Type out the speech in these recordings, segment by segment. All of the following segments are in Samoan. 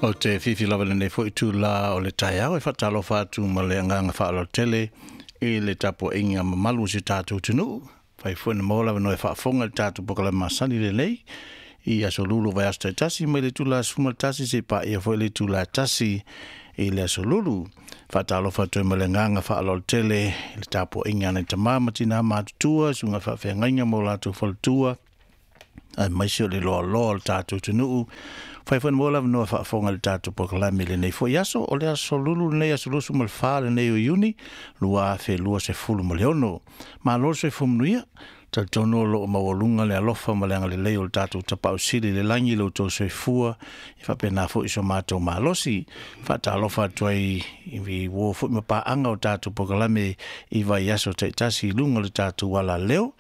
O te fifi lava lenei foi itulā o le taeao e faatalofa atu ma le agaga faaaloalo tele i le tapuaiga mamalu o si o tatou atunuu. Fai foi na maua le avanoa e faafofoga i le tatou polokalame masani lenei i aso Lulu o vaiaso taitasi mai le itula e 11 seia paia foi le itula e 1 i le aso Lulu. Faatalofa atu ai ma le agaga faaaloalo tele i le tapuaiga a nai tama ma tina matutua, susuga i faafeagaiga ma o latou faletua, aemaise o le loaloa o le tatou atunuu. Fai foi na maua le avanoa faafofoga i le tatou polokalame i lenei foi aso. O le aso Lulu lenei, aso 24 lenei o Iuni 2026. Malo le soifua manuia. Talitonu o lo o maualuga le alofa ma le agalelei o le tatou Tapaau Sili i le lagi i lo outou soifua, e faapena foi so matou malosi. Faatalofa atu ai i uo foi ma paaga o tatou polokalame i vaiaso taitasi i luga o le tatou alaleo.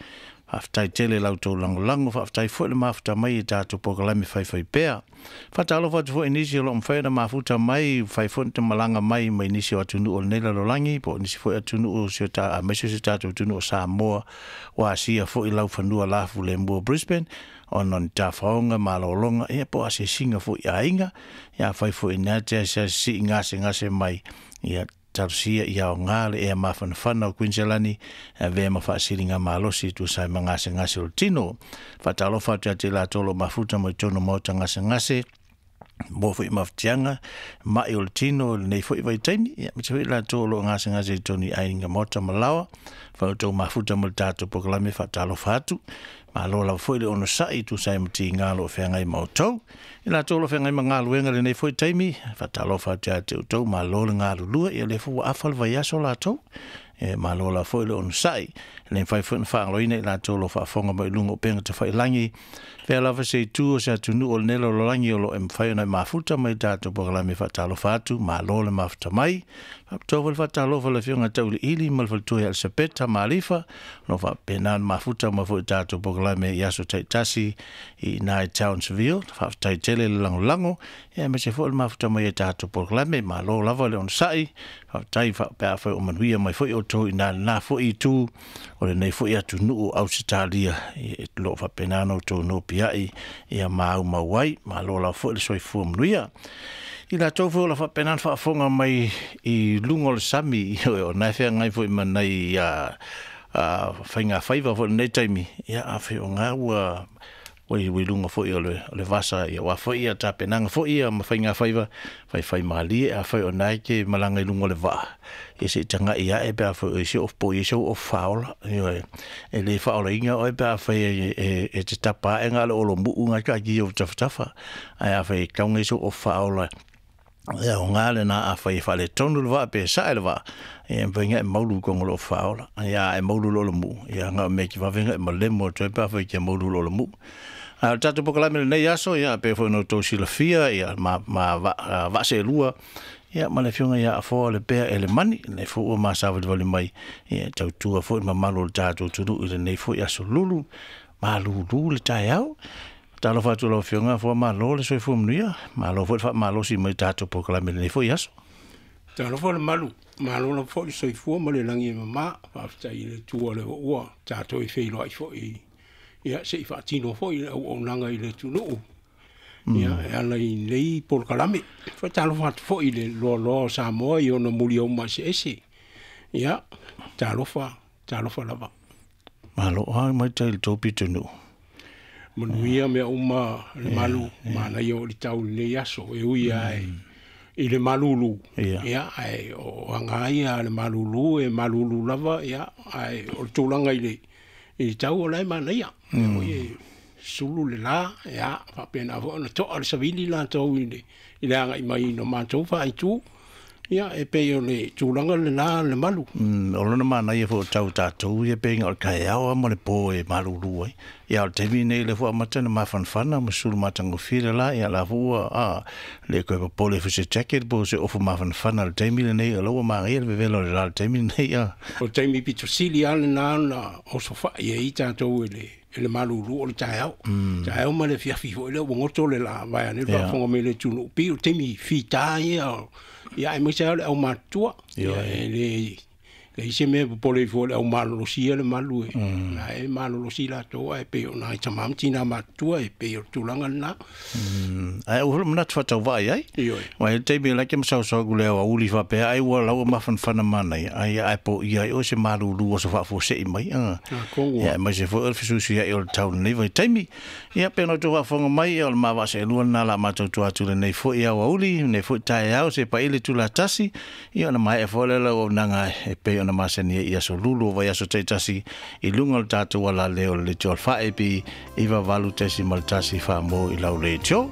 Faafetai tele i la outou lagolago, faafetai foi le mafuta mai i tatou polokalame faifaipea. Faatalofa atu foi i nisi o lo o mafai ona mafuta mai, fai foi ona malaga mai mai nisi o atunuu o lenei lalolagi, po o nisi foi atunuu o si o aemaise o si o tatou atunuu o Samoa, ua asia foi laufanua lafulemu o Brisbane, ona o ni tafaoga, malologa, ia po o asiasiga foi i aiga. Ia afai foi ina te asiasi sii gasegase mai, ia talosia ia aoga le ea mafanafana o Kuiniselani e avea ma faasiligamalosi e tusa ai ma gasegase o le tino. Faatalofa atu ia te i latou o lo o mafuta mai totonu o maota gasegase, mo foi mafatiaga, mai o le tino i lenei foi vaitaimi, ia aemaise foi i latou o lo o gasegase i totonu i aiga maota ma laoa. Fai outou mafuta ma le tatou polokalame, faatalofa atu. Malo lava foi le onosai e tusa ai ma tiga o lo o feagai ma outou. I latou o lo o feagai ma galuega i lenei foi taimi, faatalofa atu ia te outou, malo le galulue, ia o lea foi ua afa le vaiaso latou. E malo lava foi le onosai. E le mafai foi ona faagaloina i latou o lo o faafofoga mai i luga o upega tafailagi, fea lava se itu o se atunuu o lenei lalolagi o lo o e mafai ona e mafuta mai i tatou polokalame, faatalofa atu, malo le mafuta mai. Faapitoa foi le faatalofa i le Afioga ia Tauiliili ma le faletua ia Elisapeta Malifa, o lo o faapena ona mafuta mai foi i tatou polokalame i aso taitasi i ina i Townsville. Faafetai tele le lagolago, aemaise foi o le mafuta mai i tatou polokalame. Malo lava le onosai, faafetai pe afai o manuia mai foi outou i ina i lena foi itu o lenei foi atunuu o Ausetalia, o lo o faapena ona outou nopiai ma aumau ai. Malo lava foi le soifua manuia. I latou foi o lo o faapena ona faafofoga mai i luga o le sami, o lena e feagai foi ma nai faigafaiva foi i lenei taimi, ia afai o lena ua i luga foi o le vasa, aua foi tapenaga foi ia ma faigafaiva, faifaimalie, afai o lena e te malaga i luga o le vaa, ia se i tagai ae pe afai o i ai po o i ai sou ofu faaola. Ioe, e le faaolaina oe pe afai e te tapa ae na o le olomuu lena e taatia i ou tafatafa. Ae afai e tatau ona i ai sou ofu faaola, e aoga lena afai e faaletonu le vaa pe sae le vaa, ia e mafai ona e maulu i totonu o le ofu faaola. Ia a e maulu loa i le muu, ia na o le mea e te vave ona e malemo atu ai pe afai e te maulu loa i le muu. A o le tatou polokalame i lenei aso, ia pei foi ona outou silafia, ia ma vaa seelua, ia ma le Afioga ia Afoa Lepea Elemani, lenei foi ua ma savalivali mai, ia e tautua foi le mamalu o le tatou atunuu i lenei foi aso Lulu, malulu le taeao. Talofa atu i lau Afioga Afoa, malo le soifua manuia, malo foi le faamalosi mai i tatou polokalame i lenei foi aso. Talofa le malu, malo lava foi le soifua ma le lagi e mama, faafetai i le Atua o lea ua tatou e feiloai foi, ia se i faatino foi le auaunaga i le atunuu, ia e ala i lenei polokalame. Faatalofa atu foi i le loaloa o Samoa i ona muliauma eseese, ia talofa, talofa lava. Malo lava mai tai i le tou pitonuu. Manuia mea uma le malu, manaia o le tau i lenei aso, e ui lava i le malulu, ia, ae o aga ia a le malulu, e malulu lava, ia, ae o le tulaga i le tau o la e manaia. Lea foi e sulu le la, ia, faapena foi ona toa le savili latou i le agai mai i o matou faaitu. Ia, e pei o le tulaga lena le malu. O lona manaia foi o tau tatou ia pei o le taeao lava ma le po e malulu ai. Ia o le taimi lenei lea foi ua amata ona mafanafana ma sulu matagofie le la, ia la foi ua le toe popole foi i se jacket po o se ofu mafanafana i le taimi lenei, o la ua manaia le vevela o le la i le taimi lenei. O le taimi pito sili lava lena ona osofai ai tatou e le malulu o le taeao. Taeao ma le afiafi foi lea ua goto le la, vaeane le faafofoga mai le atunuu, pei o taimi fita ia, ia aemaise lava o le aumatutua. Ia, e leai se mea e popole ai fua i le aumalolosi ia le malu, e la e malolosi latou, ae pei o nai tama ma tina matutua, e pei o le tulaga lena. Ae ua manatu faatauvaa ai. Ua i le taimi e laiti ma sausau atu le aoauli faapea ai ua laua mafanafana manaia ai ae poia ai oe se malulu o se faafuasei mai. Ia aemaise foi o le fesuisuiai o le tau i lenei vaitaimi. Ia pei ona outou faafofoga mai, o le ma vaa seelua lena o le a matou tua atu i lenei foi aoauli, lenei foi taeao seia paia le itula e 1, ia ona maea foi lea o le auaunaga e pei ona masani ai i aso lulu o vaiaso taitasi i luga o le tatou alaleo o le Leitio Alfa AB 98.1 Faamuo i lau leitio.